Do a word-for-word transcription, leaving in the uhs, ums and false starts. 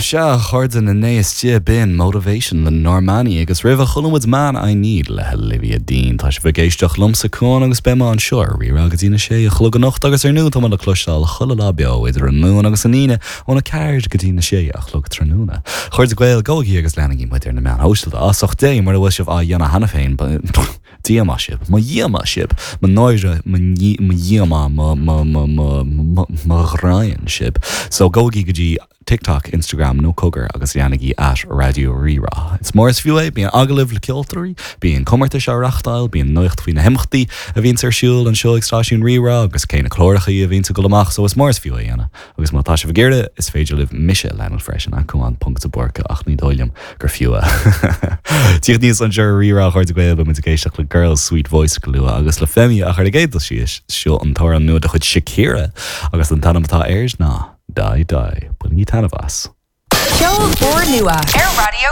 Sea a chairde na n-éiste b'in Motivation le Normani agus roimhe chuala muid Man I Need le Olivia Dean Tá sibh ag éisteacht liomsa Cuan agus beidh mé anseo ar Rí-Rá go dtí na sé a chlog anocht agus ar ndóigh tá mé le cloisteáil chuile lá beo idir an Luan agus an Aoine óna ceathair go dtí na sé a chlog tráthnóna. A chairde Gael gabhaigí agus leanaigí muid ar na meáin shóisialta as ucht Dé mura bhfuil sibh á dhéanamh cheana féin díomá sibh, mo dhíomá sibh, mo náire mo dhíomá mo ghráin sibh. So gabhaigí go dtí TikTok, Instagram nó cogar agus leanaigí at Raidió Rí-Rá. Is mór is fiú é bíonn agallaimh le ceoltóirí, bíonn comórtais á reáchtáil, bíonn nuacht faoi na himeachtaí a bhíonn ar siúl anseo ag stáisiún Rí-Rá agus cé na cláracha a bhíonn ag dul amach so is mór is fiú é dhéanamh. agus má tá sibh ag iarraidh is féidir libh mise a leanúint freisin at Cuan ponc de Búrca ach ní dóigh liom gur fiú é. Tíocht níos an seo Rí-Rá a chairde Gael beidh muid ag éisteacht le Girl Sweet Voice go luath agus le Femi ach ar an gcéad dul síos seo an t-amhrán nua de chuid Shakira agus an t-ainm atá air ná. Dai Dai, Bainigí taitneamh as. Ceol úrnua ar Raidió